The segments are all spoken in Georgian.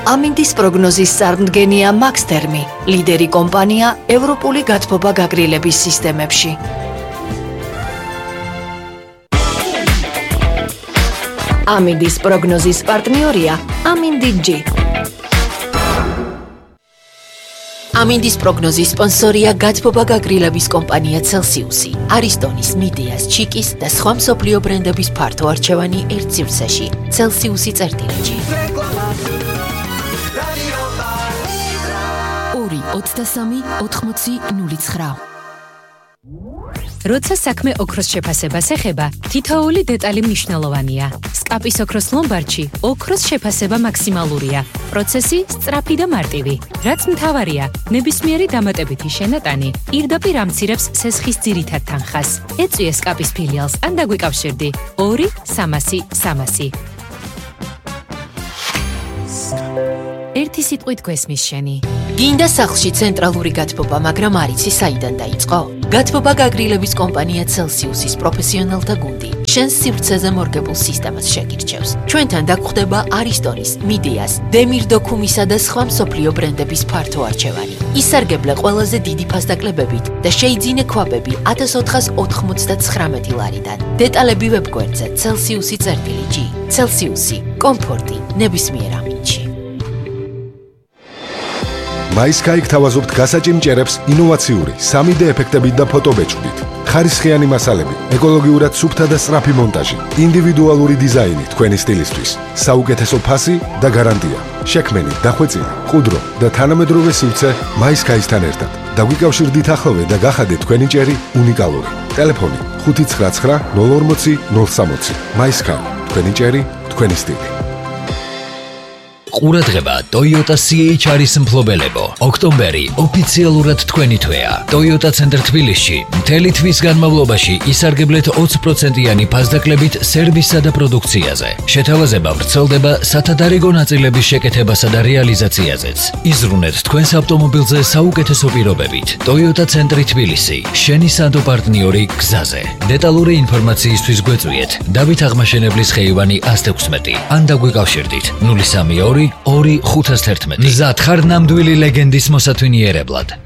ამინდის პროგნოზის წარმდგენია მაქსთერმი, ლიდერი კომპანია ევროპული გათბობა გაგრილების სისტემებში. ამინდის პროგნოზის პარტნიორია ამინდი-ჯი. ამინდის პროგნოზის სპონსორია გათბობა გაგრილების კომპანია Celsius, არისტონის, მიდეას, ჩიკის და სხვა მსოფლიო ბრენდების ფართო არჩევანი ერთ სივრცეში. Celsius წერტილიჯი. 2-23-80-09. როცა საქმე ოქროს შეფასებას ეხება, თითოეული დეტალი მნიშვნელოვანია. სკაპის ოქროს ლომბარდში ოქროს შეფასება მაქსიმალურია. პროცესი სწრაფი და მარტივი. რაც მთავარია, ნებისმიერი დამატებითი შენატანი პირდაპირ ამცირებს სესხის ძირითად თანხას. ეწვიე სკაპის ფილიალს ან დაგვიკავშირდი 2-300-300. ერთი სიტყვით გვესმის შენი. გინდა სახლში ცენტრალური გათბობა, მაგრამ არ იცი საიდან დაიწყო? გათბობა გაგრილების კომპანია Celsius-ის პროფესიონალთა გუნდი შენს სივრცეზე მორგებულ სისტემას შეგირჩევს. ჩვენთან დაგხვდება არისტონის, მიდეას, დემირ დოქუმისა და სხვა მსოფლიო ბრენდების ფართო არჩევანი. ისარგებლე ყველაზე დიდი ფასდაკლებებით და შეიძინე ქვაბები 1499 ლარიდან. დეტალები ვებგვერდზე Celsius-ი. Celsius-ი, კომფორტი ნებისმიერ ამინდში. MySky გთავაზობთ გასაჭიმჭერებს ინოვაციური 3D ეფექტებით და ფოტობეჭდით. ხარისხიანი მასალები, ეკოლოგიურად სუფთა და სწრაფი მონტაჟი, ინდივიდუალური დიზაინი თქვენი სტილისთვის, საუკეთესო ფასი და გარანტია. შექმენი, დახვეწილი, ყუდრო და თანამედროვე სივრცე MySky-სთან ერთად. დაგვიკავშირდით ახლოვე და გახადეთ თქვენი ჭერი უნიკალური. ტელეფონი 599 040 060. MySky, თქვენი ჭერი, თქვენი სტილი. ყურადღება Toyota CHR-ის მფლობელებო. ოქტომბერი ოფიციალურად თქვენი თვეა. Toyota ცენტრ თბილისში მთელი თვის განმავლობაში ისარგებლეთ 20%-იანი ფასდაკლებით სერვისსა და პროდუქციაზე. შეთავაზება ვრცელდება სათადარიგო ნაწილების შეკეთებასა და რეალიზაციაზეც. იზრუნეთ თქვენს ავტომობილზე საუკეთესო პირობებით. Toyota ცენტრი თბილისი, შენი სანდო პარტნიორი გზაზე. დეტალური ინფორმაციისთვის გვეწვიეთ დავით აღმაშენებლის ხეივანი 116 ან დაგვიკავშირდით 032 2-511. მზად ხარ ნამდვილი ლეგენდის მოსათვინიერებლად.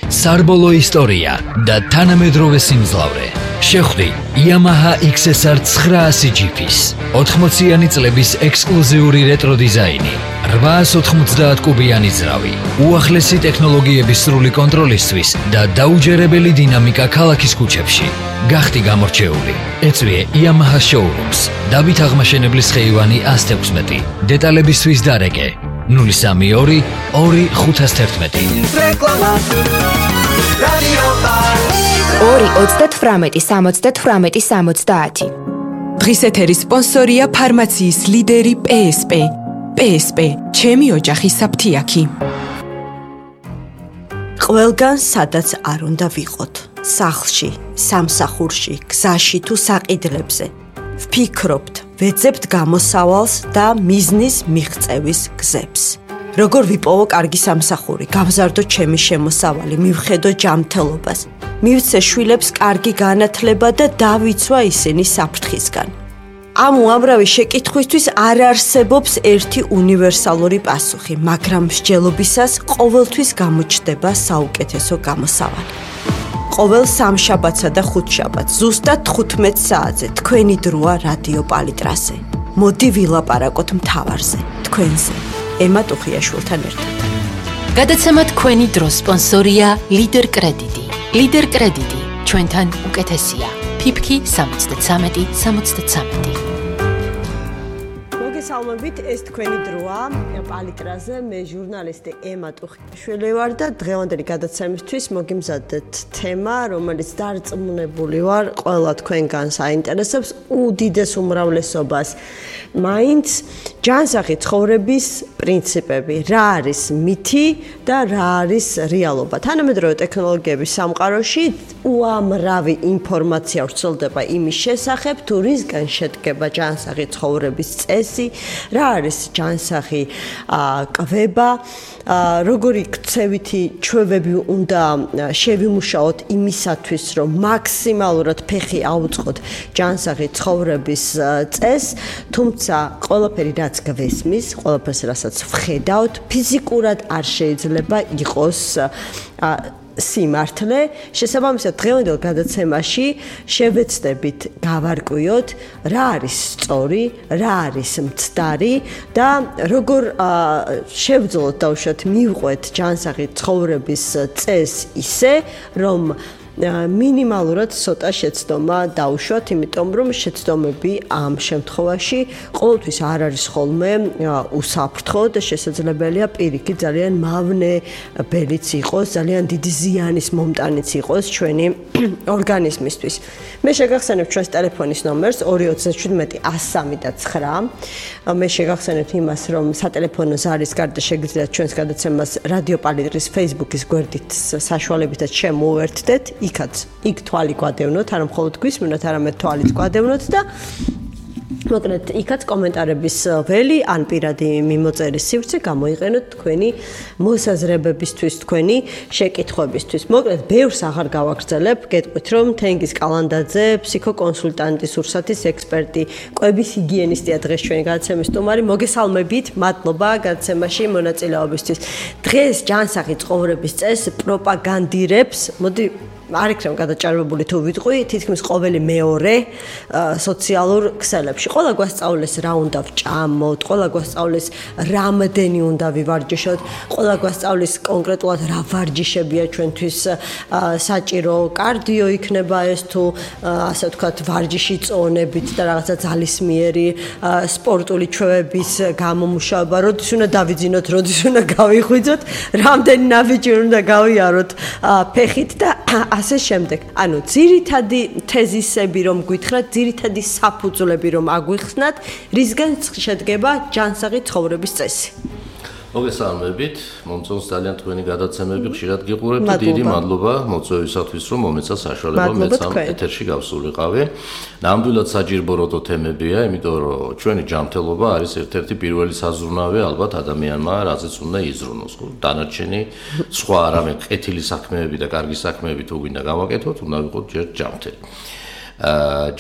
სარბოლო ისტორია და თანამედროვე სიმძლავრე. შეხვდი Yamaha XSR 900 GP-ს. 80-იანი წლების ექსკლუზიური რეტრო დიზაინი. 890 კუბიანი ძრავი. უახლესი ტექნოლოგიების სრული კონტროლისთვის და დაუჯერებელი დინამიკა ქალაქის ქუჩებში. გახდი გამორჩეული. ეწვიე Yamaha Showrooms. დავით აღმაშენებლის ხეივანი 116. დეტალებისთვის დარეკე 032 2-511. 2-38-70-70. დღის ეთერის სპონსორია ფარმაციის ლიდერი PSP. PSP, ჩემი ოჯახის საფთიაქი. ყველგან სადაც არ უნდა ვიყოთ. სახლში, სამსახურში, გზაში თუ საყიდლებზე. ვფიქრობთ, ვეძებთ გამოსავალს და მიზნის მიღწევის გზებს. როგორ ვიპოვო კარგი სამსახური, გავზარდო ჩემი შემოსავალი, მივხედო ჯანმრთელობას, მივცე შვილებს კარგი განათლება და დავიცვა ისინი საფრთხისგან. ამ უამრავი შეკითხვისთვის არ არსებობს ერთი უნივერსალური პასუხი, მაგრამ მსჯელობისას ყოველთვის გამოჩნდება საუკეთესო გამოსავალი. ყოველ სამშაბათსა და ხუთშაბათს ზუსტად 15 საათზე თქვენი დროა რადიო პალიტრაზე. მოდი ვილაპარაკოთ მთავარზე, თქვენზე. ემა ტუხიაშვილთან ერთად. გადაცემა თქვენი დროს სპონსორია ლიდერ კრედიტი. ლიდერ კრედიტი ჩვენთან უკეთესია. ფიფქი 73-73. მოგესალმებით, ეს თქვენი დროა პალიტრაზე. მე ჟურნალისტი ემა ტუხიაშვილი ვარ და დღევანდელი გადაცემისთვის მოგიმზადეთ თემა, რომელიც დარწმუნებული ვარ, ყველა თქვენგანს აინტერესებს უდიდეს უმრავლესობას. მაინც ჯანსაღი ცხოვრების პრინციპები, რა არის მითი და რა არის რეალობა. თანამედროვე ტექნოლოგიების სამყაროში უამრავი ინფორმაცია ვრცელდება იმის შესახებ, თუ რისგან შედგება ჯანსაღი ცხოვრების წესი, რა არის ჯანსაღი კვება, როგორი ქცევითი ჩვევები უნდა შევიმუშაოთ იმისათვის, რომ მაქსიმალურად ფეხი აუწყოთ ჯანსაღი ცხოვრების წესს, თუმცა ყველაფერი რა რაც გვესმის, ყველაფერს რასაც ვხედავთ, ფიზიკურად არ შეიძლება იყოს სიმართლე. შესაბამისად, დღევანდელ გადაცემაში შევეცდებით გავარკვიოთ, რა არის სწორი, რა არის მცდარი და როგორ შევძლოთ დაუშვათ მივყვეთ ჯანსაღი ცხოვრების წესს ისე, რომ მინიმალურად ცოტა შეცდომა დაუშვათ, იმიტომ რომ შეცდომები ამ შემთხვევაში ყოველთვის არ არის ხოლმე უსაფრთხო და შესაძლებელია პირიქით ძალიან მავნე ბელიც იყოს, ძალიან დიდი ზიანის მომტანიც იყოს ჩვენი ორგანიზმისთვის. მე შეგახსენებთ ჩვენს ტელეფონის ნომერს 237-103-9. მე შეგახსენებთ იმას, რომ სატელეფონო ზარის გარდა შეგიძლიათ ჩვენს გადაცემას რადიო პალიტრის Facebook-ის გვერდით საშუალებითაც შემოუერთდეთ. იქ თვალი გვადევნოთ, არა მხოლოდ გვისმენთ, არამედ თვალიც გვადევნოთ და მოკლედ იქაც კომენტარების ველი ან პირადი მიმოწერის სივრცე გამოიყენოთ თქვენი მოსაზრებებისთვის, თქვენი შეკითხვებისთვის. მოკლედ ბევრს აღარ გავაგრძელებ, გეტყვით რომ თენგიზ კალანდაძე, ფსიქოკონსულტანტი, სურსათის ექსპერტი, კვების ჰიგიენისტია დღეს ჩვენი გადაცემის სტუმარი. მოგესალმებით, მადლობა გადაცემაში მონაწილეობისთვის. დღეს ჯანსაღი ცხოვრების წესს პროპაგანდირებს, მოდი არ იქნება გადაჭარბებული თუ ვიტყვი, თითქმის ყოველი მეორე სოციალურ ქსელებში. ყველა გვასწავლეს რა უნდა ვჭამოთ, ყველა გვასწავლეს რამდენი უნდა ვივარჯიშოთ, ყველა გვასწავლეს კონკრეტულად რა ვარჯიშებია ჩვენთვის საჭირო, კარდიო იქნება ეს თუ ასე ვთქვათ ვარჯიში წონებით და რაღაცა ძალისმიერი სპორტული ჩვევების გამომუშავება, როდის უნდა დავიძინოთ, როდის უნდა გავიხვიძოთ, რამდენი ნაბიჯი უნდა გავიაროთ ფეხით და ასე შემდეგ. ანუ ძირითადი თეზისები რომ გითხრათ, ძირითადი საფუძვლები რომ აგვიხსნათ, რისგან შედგება ჯანსაღი ცხოვრების წესი. მოგესალმებით, მომწონს ძალიან თქვენი გადაცემები, ხშირად გიყურებთ და დიდი მადლობა მოწვევისათვის, რომ მომეცა საშუალება მეც ამ ეთერში გავსულიყავი. ნამდვილად საჯირბოროტო თემებია, იმიტომ რომ ჩვენი ჯანმრთელობა არის ერთ-ერთი პირველი საზრუნავი ალბათ ადამიანმა, რაზეც უნდა იზრუნოს. დანარჩენი სხვა არამედ ყეთილი საქმეები და კარგი საქმეები თუ გვინდა გავაკეთოთ, უნდა ვიყოთ ჯერ ჯანმრთელი.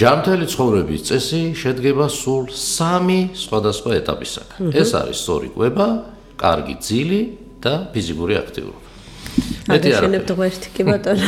ჯანმრთელი ცხოვრების წესი შედგება სულ 3 სხვადასხვა ეტაპისაგან. ეს არის სწორი კვება, კარგი ძილი და ფიზიკური აქტივობა. აგაშენებთ ღმერთი კი ბატონო.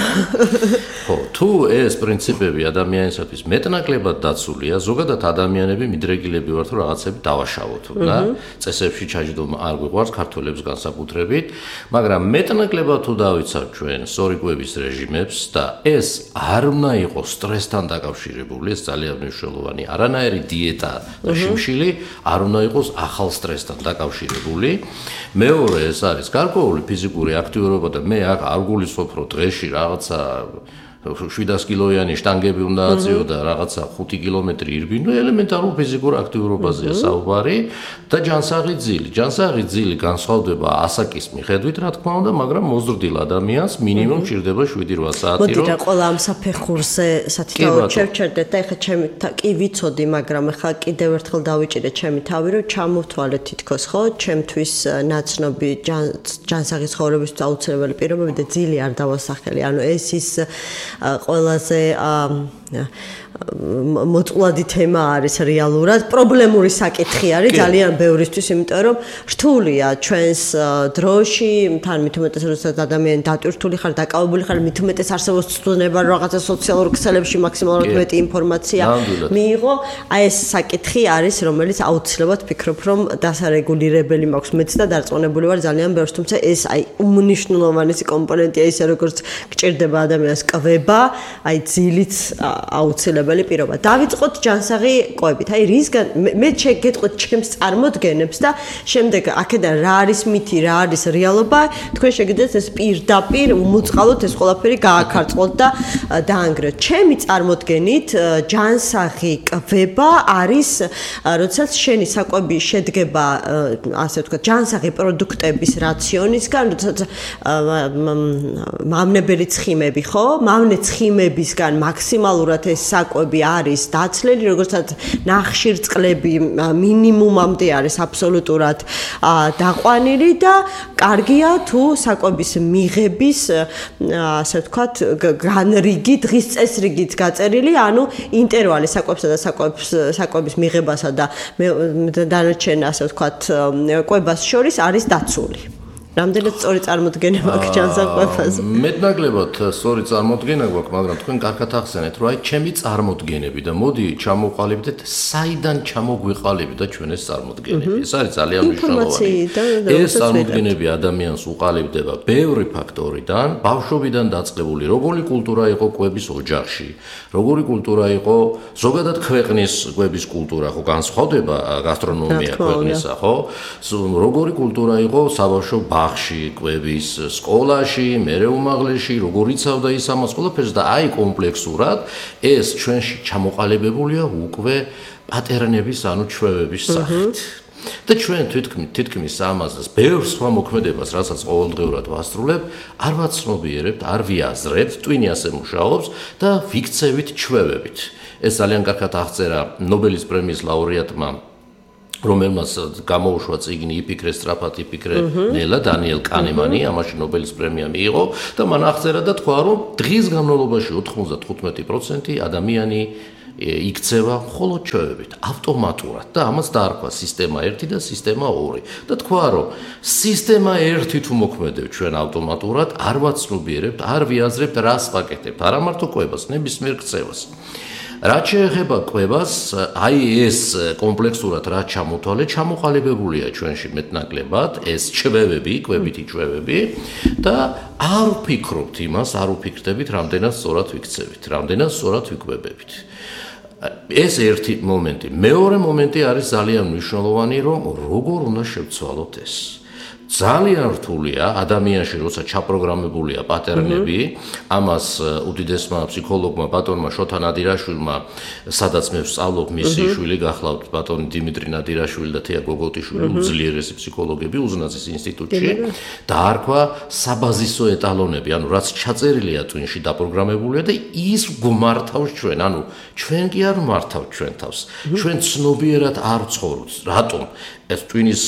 ხო, თუ ეს პრინციპები ადამიანისათვის მეტნაკლებად დაცულია, ზოგადად ადამიანები მიდრეგილები ვართ, რომ რაღაცები დავაშავოთ და წესებში ჩაჯდომა არ გვიყვარს ქართველებს განსაკუთრებით, მაგრამ მეტნაკლებად თუ დავიცავთ ჩვენ სწორი კვების რეჟიმებს და ეს არ უნდა იყოს სტრესთან დაკავშირებული, ეს ძალიან მნიშვნელოვანი, არანაირი დიეტა და შიმშილი არ უნდა იყოს ახალ სტრესთან დაკავშირებული. მეორე ეს არის გარკვეული ფიზიკური აქტივობა და მე არ გულისხმობ, რომ დღეში რაღაცა 700 კილოიანი შტანგები უნდა აწიო და რაღაცა 5 კილომეტრი ირბინო, ელემენტარულ ფიზიკურ აქტივობაზეა საუბარი და ჯანსაღი ძილი. ჯანსაღი ძილი განსხვავდება ასაკის მიხედვით, რა თქმა უნდა, მაგრამ მოზრდილ ადამიანს მინიმუმ ჭირდება 7-8 საათი. მოდი და ყველა ამ საფეხურზე სათითაოდ შევჩერდეთ და ეხლა ჩემი კი ვიცოდი, მაგრამ ეხლა კიდევ ერთხელ დავიჭირე ჩემი თავი, რომ ჩამოვთვალე თითქოს, ხო, ჩემთვის ნაცნობი ჯანსაღი ცხოვრების აუცილებელი პირობები და ძილი არ დავასახელი. ანუ ეს ის ყველაზე მოწყვლადი თემა არის რეალურად, პრობლემური საკითხი არის ძალიან ბევრისთვის, იმიტომ რომ რთულია ჩვენს დროში, თან მით უმეტეს როდესაც ადამიანი დატვირთული ხარ, დაკავებული ხარ, მით უმეტეს არსებობს ცდონება რაღაცა სოციალურ ქსელებში მაქსიმალურად მეტი ინფორმაცია მიიღო, აი ეს საკითხი არის, რომელიც აუცილებლად ფიქრობ, რომ დასარეგულირებელი მაქვს მეც და დარწმუნებული ვარ ძალიან ბევრს, თუმცა ეს აი უმნიშვნელოვანესი კომპონენტია, ისე როგორც გჭირდება ადამიანს კვება, აი ძილიც აუცილებელი პირობა. დავიწყოთ ჯანსაღი კვებით. აი რისგან მე შეგეტყვით ჩემს წარმოდგენებს და შემდეგ აქედან რა არის მითი, რა არის რეალობა, თქვენ შეგიძლიათ ეს პირდაპირ უმოწყალოთ ეს ყველაფერი გააქარწყლოთ და დაანგრიოთ. ჩემი წარმოდგენით ჯანსაღი კვება არის, როდესაც შენი საკვები შედგება, ასე ვთქვათ, ჯანსაღი პროდუქტების რაციონისგან, როდესაც მავნებელი ცხიმები, ხო? ამ ცხიმებისგან მაქსიმალურად ეს საკვები არის დაცლილი, როგორცაც ნახშირწყლები მინიმუმამდე არის აბსოლუტურად დაყვანილი და კარგია თუ საკვების მიღების ასე ვთქვათ განრიგი დღის წესრიგით გაწერილი, ანუ ინტერვალი საკვებსა და საკვების მიღებასა და დანარჩენ ასე ვთქვათ კვებას შორის არის დაცული. რამდენად სწორი წარმოდგენება აქვს ჩანსაკვებაზე? მეტნაკლებად სწორი წარმოდგენა გვაქვს, მაგრამ თქვენ კარგად ახსენეთ, რომ აი ჩემი წარმოდგენები და მოდი ჩამოყალიბდეთ, საიდან ჩამოგვიყალიბდა და ჩვენ ეს წარმოდგენები. ეს არის ძალიან მნიშვნელოვანი. ეს წარმოდგენები ადამიანს უყალიბდება ბევრი ფაქტორიდან, ბავშვობიდან დაწყებული, როგორი კულტურა იყო კვების ოჯახში, როგორი კულტურა იყო ზოგადად ქვეყნის კვების კულტურა, ხო განსხვავდება გასტრონომია ქვეყნისა, ხო? როგორი კულტურა იყო საბავშვო ბაღში, კვების სკოლაში, მერე უმაღლესში, როგორ იცავდა ის ამას ყველაფერს და აი კომპლექსურად ეს ჩვენში ჩამოყალიბებულია უკვე პატერნების, ანუ ჩვევების სახით. და ჩვენ თითქმის ამას ბევრ სხვა მოქმედებას, რასაც ყოველდღიურად ვასრულებ, არ ვაცნობიერებთ, არ ვიაზრებთ, ტვინი ასე მუშაობს და ვიქცევით ჩვევებით. ეს ძალიან კარგად აღწერა ნობელის პრემიის ლაურეატმა რომელმაც გამოუშვა წიგნი იფიქრე სწრაფად იფიქრე ნელა დანიელ კანემანი, ამაში ნობელის პრემია მიიღო და მან აღწერა და თქვა, რომ დღის განმავლობაში 95% ადამიანი იქცევა მხოლოდ ჩვევებით, ავტომატურად და ამას დაარქვა სისტემა 1 და სისტემა 2 და თქვა, რომ სისტემა 1 თუ მოქმედებ ჩვენ ავტომატურად, არ ვაცნობიერებთ, არ ვიაზრებთ, რას ვაკეთებთ, არა მარტო კვებას, ნებისმიერ ქცევას. რაც შეეხება კვებას, აი ეს კომპლექსურად რა ჩამოთვალე, ჩამოყალიბებულია ჩვენში მეტნაკლებად, ეს ჩვევები, კვებითი ჩვევები და არ ვფიქრობთ იმას, არ ვფიქრდებით, რამდენად სწორად ვიქცევით, რამდენად სწორად ვიკვებებით. ეს ერთი მომენტი. მეორე მომენტი არის ძალიან მნიშვნელოვანი, რომ როგორ უნდა შევცვალოთ ეს. ძალიან რთულია ადამიანში, როცა ჩაპროგრამებულია პატერნები, ამას უდიდესმა ფსიქოლოგმა ბატონმა შოთა ნადირაშვილმა, სადაც მე ვსწავლობ, მისი შვილი გახლავთ ბატონი დიმიტრი ნადირაშვილი და თეა გოგოტიშვილი, უძლიერესი ფსიქოლოგები უზნაძის ინსტიტუტში, დაარქვა საბაზისო ეტალონები, ანუ რაც ჩაწერილია ტვინში დაპროგრამებულია და ის გვმართავს ჩვენ, ანუ ჩვენ კი არ ვმართავთ ჩვენ თავს. ჩვენ ცნობიერად არ ვცხოვრობთ. რატომ? ეს ტვინის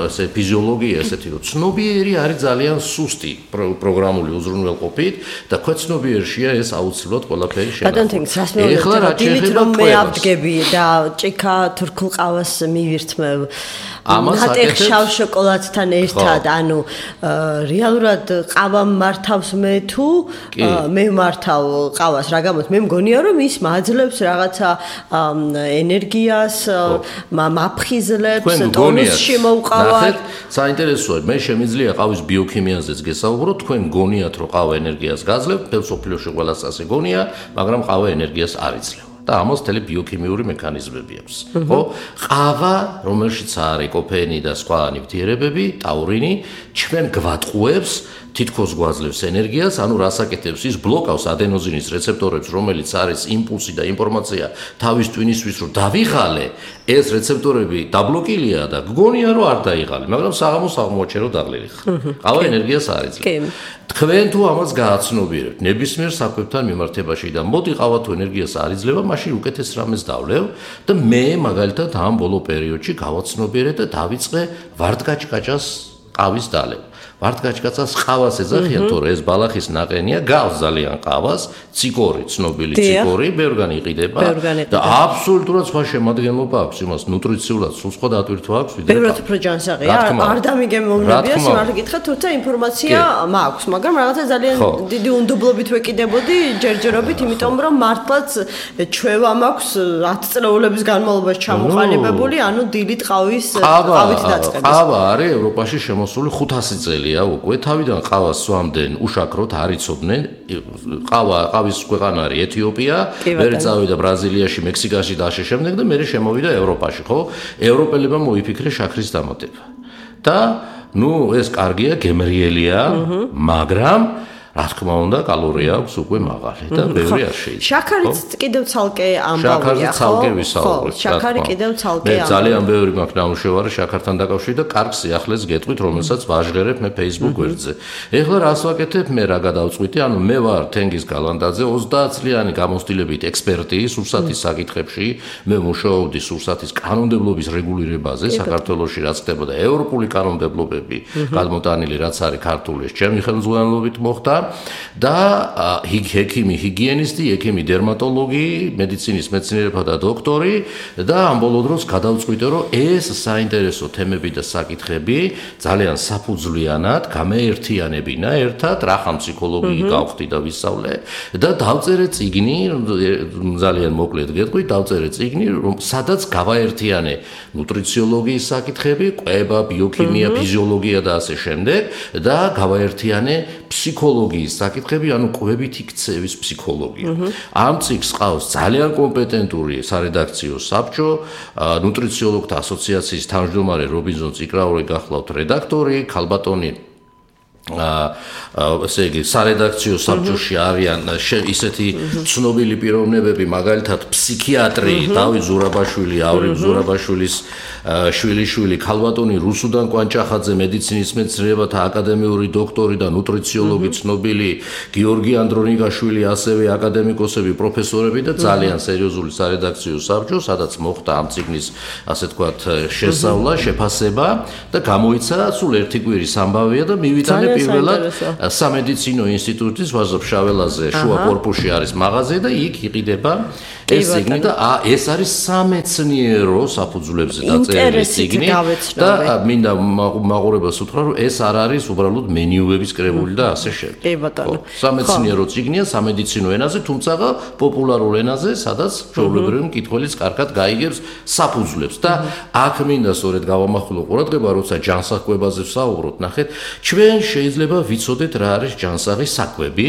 ესე ფიზიოლოგია ესეთი რომ ცნობიერი არის ძალიან სუსტი პროგრამული უზრუნველყოფით და ქვეცნობიერშია ეს აუცილებლად ყველაფერი შენახება. ეხლა რა შეიძლება მე ავდგები და ჭიქა თურქულ ყავას მივირთმევ. ნატეხ შავ შოკოლადთან ერთად, ანუ რეალურად ყავა მართავს მე თუ მე მართავ ყავას, რა გამოც მე მგონია რომ ის მაძლევს რაღაცა ენერგიას, მაფხიზლებს ტონუსში მოვყავარ. საინტერესოა, მე შემიძლია ყავის ბიოქიმიაზეც გესაუბრო, თქვენ გონიათ რომ ყავა ენერგიას გაძლევს, თელ სოფლიოში ყველას ასე გონია, მაგრამ ყავა ენერგიას არ იძლევა. და ამას მთელი ბიოქიმიური მექანიზმები აქვს. ხო? ყავა, რომელშიც არის კოფეინი და სხვა ნივთიერებები, ტაურინი, ჩვენ გვატყუებს თითქოს გვაძლევს ენერგიას, ანუ რას აკეთებს ის ბლოკავს ადენოზინის რეცეპტორებს, რომელიც არის იმპულსი და ინფორმაცია თავის ტვინისთვის რომ დავიღალე, ეს რეცეპტორები დაბლოკილია და გგონია რომ არ დაიღალე, მაგრამ საღამოს აღმოაჩენ რომ დაღლილი ხარ. ყავა ენერგიას არ იძლევა. თქვენ თუ ამას გააცნობიერებთ ნებისმიერ საკვებთან მიმართებაში და მოდი ყავა თუ ენერგიას არ იძლევა, მაშინ უკეთეს რამეს დავლევ და მე მაგალითად ამ ბოლო პერიოდში გავაცნობიერე და დავიწყე ვარდკაჭკაჭას ყავის დალევა. ვარდკაჭკაჭას ყავას ეძახიან, თორე ეს ბალახის ნაყენია, გავს ძალიან ყავას, ციკორი, ცნობილი ციკორი, ბევრგან იყიდება და აბსოლუტურად სხვა შემადგენლობა აქვს იმას ნუტრიციულად, სულ სხვა დატვირთვა აქვს ვიდრე. ბევრად უფრო ჯანსაღია, არ დამიგემოვნებია, სიმართლე გითხრათ, თუმცა ინფორმაცია მაქვს, მაგრამ რაღაცა ძალიან დიდი უნდობლობით ვეკიდებოდი ჯერჯერობით, იმიტომ რომ მართლაც ჩვევა მაქვს 10 წლეულების განმავლობაში ჩამოყალიბებული, ანუ დილით ყავით დაწყების. ყავა არის ევროპაში შემოსული 500 წელი უკვე თავიდან ყავას სვამდნენ უშაქროთ არ იცოდნენ ყავის ქვეყანა არის ეთიოპია მერე წავიდა ბრაზილიაში მექსიკაში და ასე შემდეგ და მერე შემოვიდა ევროპაში ხო ევროპელებმა მოიფიქრეს შაქრის დამატება და ნუ ეს კარგია გემრიელია მაგრამ რა თქმა უნდა, კალორია აქვს უკვე მაღალი და ბევრი არ შეიძლება. შაქარიც კიდევ ცალკე ამბავია, ხო? ცალკე ვისაუბრეთ. შაქარი კიდევ ცალკე ამბავია. მე ძალიან ბევრი მაქვს ნამუშევარი შაქართან დაკავშირებით და კარგ სიახლეს გეტყვით, რომელსაც ვაჟღერებ მე Facebook გვერდზე. ეხლა რას ვაკეთებ, მე რა გადავწყვიტე, ანუ მე ვარ თენგიზ გალანდაძე, 30 წლიანი გამოცდილებით ექსპერტი სურსათის საკითხებში, მე მუშაობდი სურსათის კანონმდებლობის რეგულირებაზე საქართველოში, რაც ხდებოდა ევროპული კანონმდებლობები, გადმოტანილი რაც არის ქართული, ჩემი ხელმძღვანელობით მოხდა და ექიმი, ჰიგიენისტი, ექიმი, დერმატოლოგი, მედიცინის მეცნიერებათა და დოქტორი და ამ ბოლო დროს გადავწყვიტე, რომ ეს საინტერესო თემები და საკითხები ძალიან საფუძვლიანად გამეერთიანებინა ერთად, რახან ფსიქოლოგიი გავხდი და ვისწავლე და დავწერე წიგნი, ძალიან მოკლედ გეტყვით, დავწერე წიგნი, სადაც გავაერთიანე ნუტრიციოლოგიის საკითხები, კვება, ბიოქიმია, ფიზიოლოგია და ასე შემდეგ და გავაერთიანე ფსიქოლოგიის საკითხები, ანუ კვებითი ქცევის ფსიქოლოგია. ამ წიგნს ყავს ძალიან კომპეტენტური სარედაქციო საბჭო, ნუტრიციოლოგთა ასოციაციის თავმჯდომარე რობინზონ წიკრაური გახლავთ რედაქტორი, ქალბატონი ესე იგი სარედაქციო საბჭოში არიან ისეთი ცნობილი პიროვნებები, მაგალითად ფსიქიატრი დავით ზურაბაშვილი, ავრილ ზურაბაშვილის შვილიშვილი, ქალბატონი რუსუდან კვანჭახაძე, მედიცინის მეცნიერებათა აკადემიური დოქტორი და ნუტრიციოლოგი ცნობილი გიორგი ანდრონიკაშვილი, ასევე აკადემიკოსები, პროფესორები და ძალიან სერიოზული სარედაქციო საბჭო, სადაც მოხდა ამ წიგნის ასე თქვათ შესწავლა, შეფასება და გამოიცა სულ ერთი კვირის ამბავია და მივიტანე პირველად სამედიცინო ინსტიტუტის ვაზობშაველაზე შუა კორპუსში არის მაღაზია და იქ იყიდება ეს წიგნი და ეს არის სამეცნიერო საფუძვლებზე დაწერილი წიგნი და მინდა მაყურებელს უთხრა რომ ეს არ არის უბრალოდ მენიუების კრებული და ასე შემდეგ. კი ბატონო. სამეცნიერო წიგნია სამედიცინო ენაზე, თუმცა პოპულარულ ენაზე, სადაც ჩვეულებრივი მკითხველიც კარგად გაიგებს საფუძვლებს და აქ მინდა სწორედ გავამახვილო ყურადღება, როცა ჯანსაღკვებაზე ვსაუბრობთ, ნახეთ, ჩვენ შეიძლება ვიცოდეთ რა არის ჯანსაღი საკვები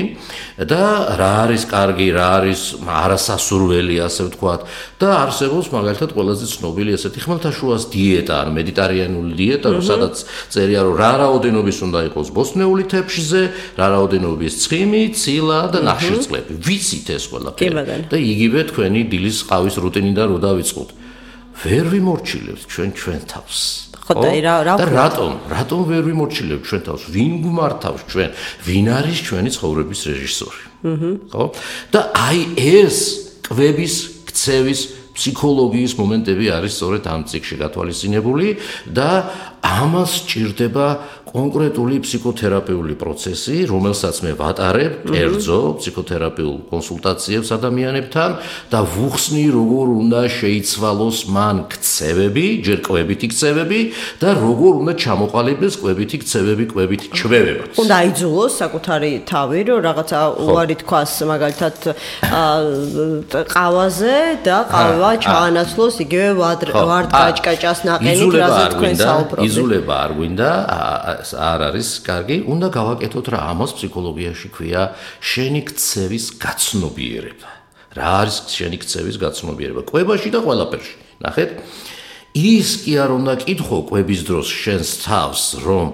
და რა არის კარგი, რა არის არასასურველი, ასე ვთქვათ და არსებობს მაგალითად ყველაზე ცნობილი ესეთი ხმელთაშუას დიეტა, ან მედიტერიანული დიეტა, სადაც წერია რომ რა რაოდენობის უნდა იყოს ბოსტნეული თეფშზე, რა რაოდენობის ცხიმი, ცილა და ნახშირწყლები. ვიცით ეს ყველაფერი და იგივე თქვენი დილის ყავის რუტინიდან რო დავიწყოთ. ვერ ვიმორჩილებთ ჩვენ თავს. და რატომ ვერ ვიმორჩილებთ ჩვენ თავს? ვინ გვმართავს ჩვენ? ვინ არის ჩვენი ცხოვრების რეჟისორი? ხო? და აი ეს კვების, ქცევის, ფსიქოლოგიის მომენტები არის სწორედ ამ წიგნში გათვალისწინებული და ამას სჭირდება კონკრეტული ფსიქოთერაპიული პროცესი, რომელსაც მე ვატარებ კერძო ფსიქოთერაპიულ კონსულტაციებს ადამიანებთან და ვუხსნი როგორ უნდა შეიცვალოს მან ქცევები, ჯერ კვებითი ქცევები და როგორ უნდა ჩამოყალიბდეს კვებითი ქცევები, კვებითი ჩვევება. უნდა აიძულოს საკუთარი თავი, რომ რაღაცა უარი თქვას მაგალითად ყავაზე და ყავა ჩაანაცვლოს იგივე ვარდკაჭკაჭას ნაყენით, რაზეც თქვენ საუბრობთ. იზულება არ გვინდა, არ არის კარგი, უნდა გავაკეთოთ რა ამას ფსიქოლოგიაში ქვია შენი ქცევის გაცნობიერება. რა არის შენი ქცევის გაცნობიერება? კვებაში და ყველაფერში. ნახეთ, ის კი არ უნდა კითხო კვების დროს შენს თავს, რომ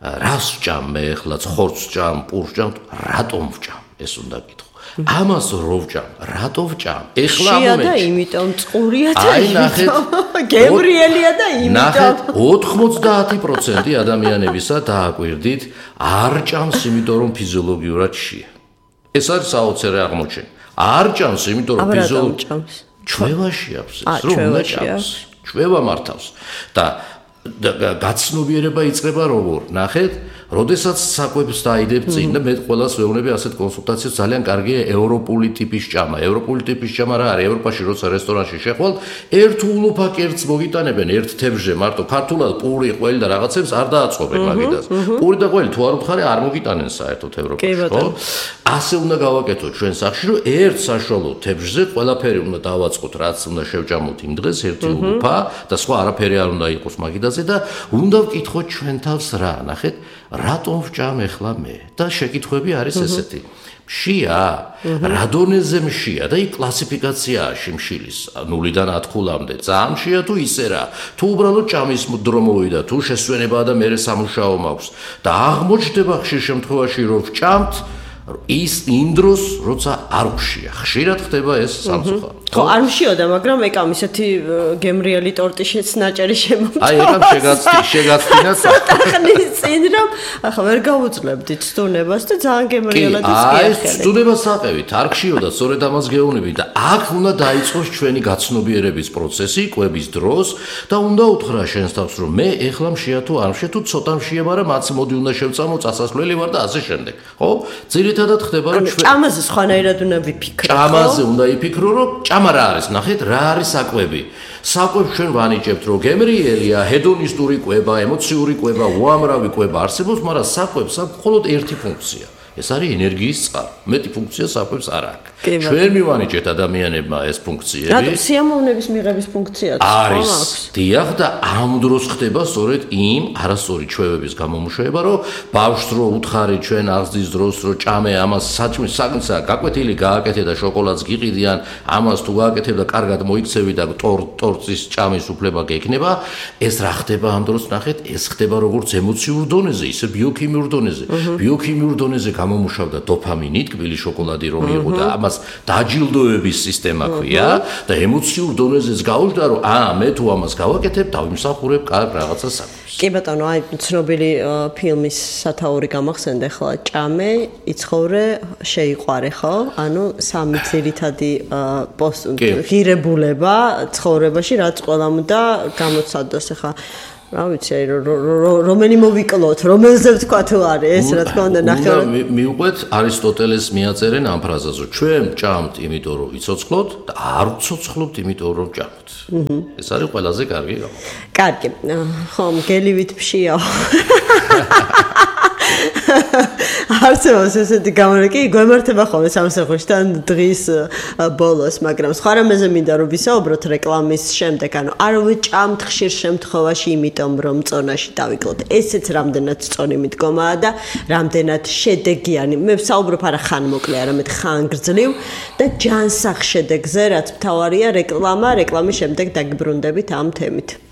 რას ვჭამ მე ახლა, ხორცს ვჭამ, პურს ვჭამ, რატომ ვჭამ? ეს უნდა კითხო. ამას რო ვჭამ, რატო ვჭამ? ეხლა მომენტში. და იმიტომ წყურია და იმიტომ გემრიელია და იმიტომ. ნახეთ, 90% ადამიანებისა დააკვირდით, არ ჭამს, იმიტომ რომ ფიზიოლოგიურად შია. ეს არის საოცარი აღმოჩენა. არ ჭამს, იმიტომ რომ ფიზიოლოგიურად ჩვევაში აქვს ეს, რომ უნდა ჭამს. ჩვევა მართავს და გაცნობიერება იწყება როგორ? ნახეთ, როდესაც საკვებს დაიდებ წინ და მე ყველას ვეუბნები ასეთ კონსულტაციებს ძალიან კარგია ევროპული ტიპის ჭამა. ევროპული ტიპის ჭამა რა არის? ევროპაში როცა რესტორანში შეხვალ, ერთ ულუფა კერძს მოგიტანებენ ერთ თევზზე, მარტო ქართულად პური, ყველი და რაღაცებს არ დააწყობენ მაგიდას. პური და ყველი თუ არ უთხარი არ მოგიტანენ საერთოდ ევროპაში, ხო? ასე უნდა გავაკეთოთ ჩვენ სახში, რომ ერთ საშუალო თევზზე ყველაფერი უნდა დავაწყოთ, რაც უნდა შევჭამოთ იმ დღეს, ერთი ულუფა და სხვა არაფერი არ უნდა იყოს მაგიდაზე და უნდა ვკითხოთ ჩვენ თავს რა, ნახეთ, რატომ ვჭამ ახლა მე? და შეკითხვები არის ესეთი. მშია, რა დონეზე მშია და იქ კლასიფიკაციაა შიმშილის 0-დან 10-მდე. ძალიან მშია თუ ისე რა? თუ უბრალოდ ჭამის დრო მოვიდა, თუ შესვენებაა და მერე სამუშაო მაქვს და აღმოჩნდება ხშირ შემთხვევაში რომ ვჭამთ ის იმ დროს როცა არ მშია ხშირად ხდება ეს სამწუხარო ხო არ მშიოდა მაგრამ ეკამ ისეთი გემრიელი ტორტი შეცნაჭერი შემომწვა აი ეკამ შეგაცდინა სახნის წინ რომ ახლა ვერ გავუძლებდით სტუნებას და ძალიან გემრიელად ისკიახეთ აი სტუნებას აყევით არ ხშიოდა სწორედ ამას გეუბნები და აქ უნდა დაიწყოს ჩვენი გაცნობიერების პროცესი კვების დროს და უნდა უთხრა შენს თავს რომ მე ეხლა მშია თუ არ მშია თუ ცოტა მშია მაგრამ აც მოდი უნდა შევწამო წასასვლელი ვარ და ასე შემდეგ ხო ძირითადად ხდება რომ ჩვენ ჭამაზე სხვანაირად უნდა ვიფიქრო ჭამაზე უნდა იფიქრო რომ ჭამა რა არის ნახეთ რა არის საკვები საკვებს ჩვენ ვანიჭებთ რომ გემრიელია ჰედონისტური კვება ემოციური კვება უამრავი კვება არსებობს მაგრამ საკვებს აქვს მხოლოდ ერთი ფუნქცია ეს არის ენერგიის წყარო მეტი ფუნქცია საკვებს არ აქვს ჩვენ მივანიჭეთ ადამიანებმა ეს ფუნქციები რატო სიამოვნების მიღების ფუნქციაც არის დიახ და ამ დროს ხდება სწორედ იმ არასწორი ჩვევების გამომუშავება რომ ბავშვს რო უთხარი ჩვენ აღზრდის დროს რო ჭამე ამას საჭმის საგნსა გაკვეთილი გააკეთე და შოკოლადს გიყიდიან ამას თუ გააკეთებ და კარგად მოიქცევი და ტორტის ჭამის უფლება გექნება ეს რა ხდება ამ დროს ნახეთ ეს ხდება როგორც ემოციურ დონეზე ისე ბიოქიმიურ დონეზე ბიოქიმიურ დონეზე გამომუშავდა დოფამინი თბილი შოკოლადი რომ იყო და ამას დაჯილდოების სისტემა ქვია და ემოციურ დონეზეც გავუშვდა რომ მე თუ ამას გავაკეთებ დავიმსახურებ კარგ რაღაცა საქმეს კი ბატონო აი ცნობილი ფილმის სათაური გამახსენდა ახლა ჭამე იცხოვრე შეიყვარე ხო ანუ სამი ძირითადი ღირებულება ცხოვრებაში რაც ყველამ და გამოცადოს ახლა რა ვიცი რომელი მოვიკლოთ რომელზე ვთქვა თუ არის ეს რა თქმა უნდა ნახევარ მივყვეთ არისტოტელეს მიაწერენ ამ ფრაზას რომ ჩვენ ჭამთ იმიტომ რომ ვიცოცხლოთ და არ ვიცოცხლობთ იმიტომ რომ ჭამთ ეს არის ყველაზე კარგი კარგი ხომ გელივით ფშიაო არსებობს ესეთი გამორეკი გვემართება ხოლმე სამსახურში დღის ბოლოს მაგრამ სხვა რამეზე მინდა რომ ვისაუბროთ რეკლამის შემდეგ ანუ არ ვჭამთ ხშირ შემთხვევაში იმიტომ რომ წონაში დავიკლოთ ესეც რამდენად წონი მიდგომაა და რამდენად შედეგიანი მე ვსაუბრობ არა ხან მოკლე არამედ ხან გრძლივ და ჯანსაღ შედეგზე რაც მთავარია რეკლამის შემდეგ დაგიბრუნდებით ამ თემით